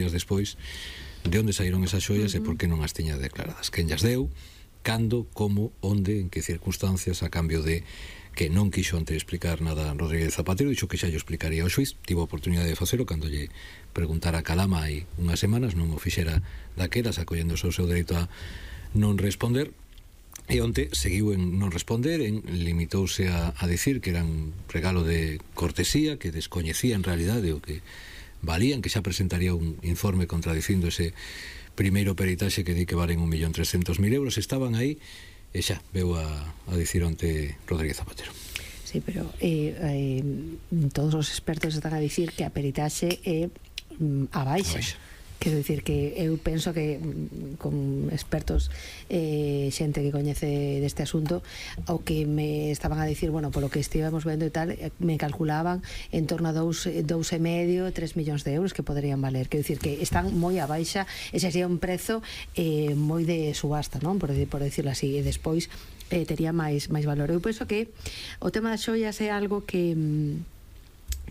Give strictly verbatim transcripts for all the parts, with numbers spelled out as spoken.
días despois de onde saíron esas xoias e por que non as tiña declaradas, quen llas deu, cando, como, onde, en que circunstancias, a cambio de que non quixo antes explicar nada Rodríguez Zapatero, dixo que xa lle explicaría ao xuiz, tivo a oportunidade de facelo cando lle preguntara a Calama hai unhas semanas, non o fixera daquelas, acollendo o seu dereito a non responder, e onte seguiu en non responder, en limitouse a, a dicir que era un regalo de cortesía, que descoñecía en realidade o que valían, que xa presentaría un informe contradicindo ese primeiro peritaxe que di que valen un millón trescentos mil euros. Estaban aí e xa veu a, a dicir onte Rodríguez Zapatero. Sí, pero eh, eh, todos os expertos están a dicir que a peritaxe é mm, a baixa. A baixa. Quero dicir que eu penso que con expertos, eh, xente que coñece deste asunto, o que me estaban a dicir, bueno, polo que estivemos vendo e tal, me calculaban en torno a dous, dous e medio, tres millóns de euros que poderían valer. Quero dicir que están moi a baixa, ese sería un prezo eh, moi de subasta, non? Por, por decirlo así, e despois eh, tería máis, máis valor. Eu penso que o tema das xoias é algo que...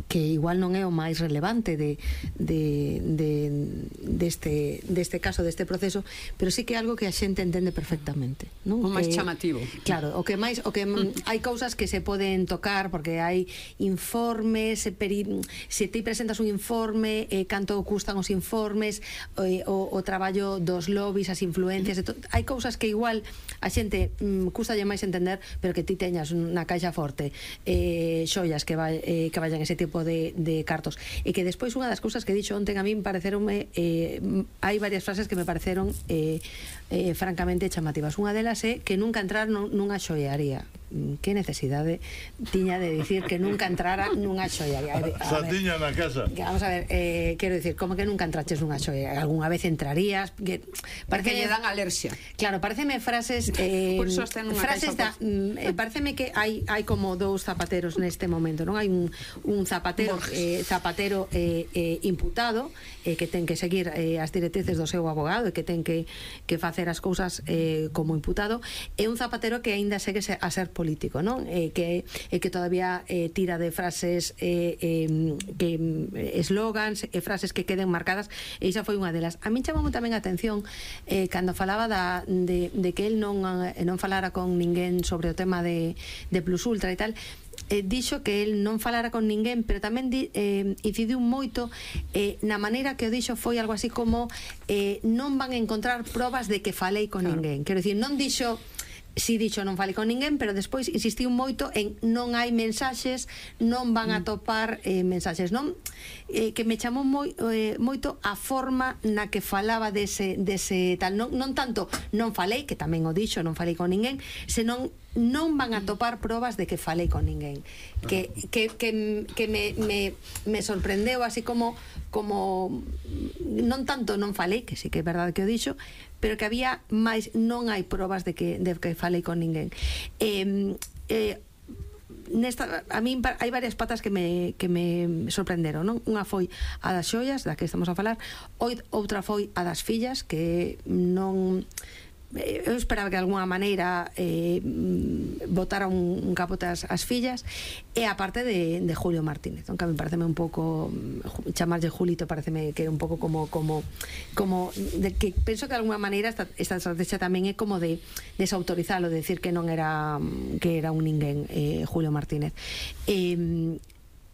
que igual non é o máis relevante de, de, de, deste, deste caso, deste proceso, pero sí que é algo que a xente entende perfectamente, non? O máis eh, chamativo. Claro, o que máis, o que mm. hai cousas que se poden tocar porque hai informes, se, peri, se ti presentas un informe, eh, canto custan os informes, eh, o, o traballo dos lobbies, as influencias, to, hai cousas que igual a xente mm, custalle máis entender, pero que ti teñas na caixa forte eh, xoias que, vai, eh, que vayan ese tipo de, de cartos, e que despois unha das cousas que dixo onten a min pareceronme, eh, hai varias frases que me pareceron eh, eh, francamente chamativas. Unha delas é que nunca entrar nunha xoiaría. Que necesidade tiña de dicir que nunca entrara nunha xoiaría? Xa tiña na casa. Vamos a ver, eh, quero dicir, como que nunca entraches nunha xoiaría? Algúnha vez entrarías? Que, porque lle dan alerxia. Claro, pareceme frases eh, por eso está nunha frases da, eh, pareceme que hai hai como dous zapateros neste momento, non? Hai un, un zapatero eh, zapatero eh, eh, imputado eh, que ten que seguir eh, as directrices do seu abogado e que ten que, que facer as cousas eh, como imputado, e un zapatero que aínda segue a ser político, non? Eh, que, eh, que todavía eh, tira de frases eh, eh, que eslogans e eh, frases que queden marcadas, e iso foi unha delas. A min chamou tamén a atención eh, cando falaba da, de, de que el non, eh, non falara con ninguén sobre o tema de, de Plus Ultra e tal. Eh, dixo que el non falara con ninguén, pero tamén di, eh, incidiu moito eh, na maneira que o dixo foi algo así como eh, non van a encontrar probas de que falei con claro. ninguén. Quero dicir, non dixo si dixo non falei con ninguén, pero despois insistiu moito en non hai mensaxes, non van a topar eh, mensaxes, non? Eh, que me chamou moi, eh, moito a forma na que falaba dese, dese tal, non, non tanto non falei, que tamén o dixo, non falei con ninguén, senón non van a topar probas de que falei con ninguén, que, que, que, que me, me, me sorprendeu así como como non tanto non falei, que sí que é verdade que o dixo, pero que había máis, non hai probas de que, de que falei con ninguén. Eh, eh, nesta, a min hai varias patas que me, que me sorprenderon, non? Unha foi a das xoias, da que estamos a falar, outra foi a das fillas, que non... eu esperaba que de alguna maneira eh, botara un, un capote as, as fillas, e a parte de, de Julio Martínez, que a mí pareceme un pouco, chamarlle Julito pareceme que é un pouco como como, como de que penso que de alguna maneira esta, esta estrategia tamén é como de desautorizalo, de decir que non era que era un ninguén eh, Julio Martínez. e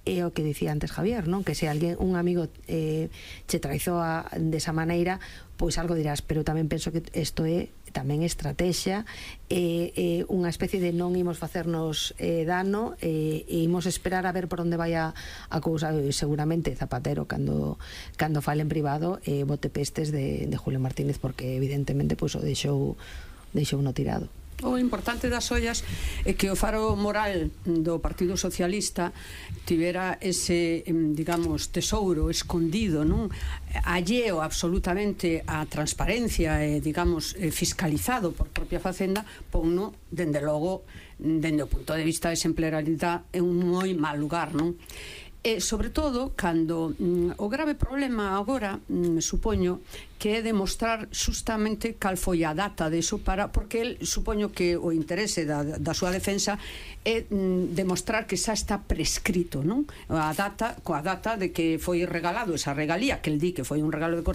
é o que dicía antes Javier, non? Que se alguén, un amigo eh, che traizou a, desa maneira, pois algo dirás, pero tamén penso que isto é tamén estrategia, e eh, eh, unha especie de non imos facernos eh, dano, e eh, imos esperar a ver por onde vai a, a cousa. Seguramente Zapatero cando, cando fale en privado eh, bote pestes de, de Julio Martínez, porque evidentemente pois, o deixou deixou no tirado. O importante das ollas é que o faro moral do Partido Socialista tivera ese, digamos, tesouro escondido, non? Alleo absolutamente a transparencia e, digamos, fiscalizado por propia Facenda, ponno, dende logo, dende o punto de vista de exemplaridade, é un moi mal lugar, non? E, sobre todo, cando mm, o grave problema agora, mm, supoño, que é demostrar justamente cal foi a data deso para, porque el, supoño que o interese da, da súa defensa é mm, demostrar que xa está prescrito, non? A data, coa data de que foi regalado esa regalía, que el di que foi un regalo de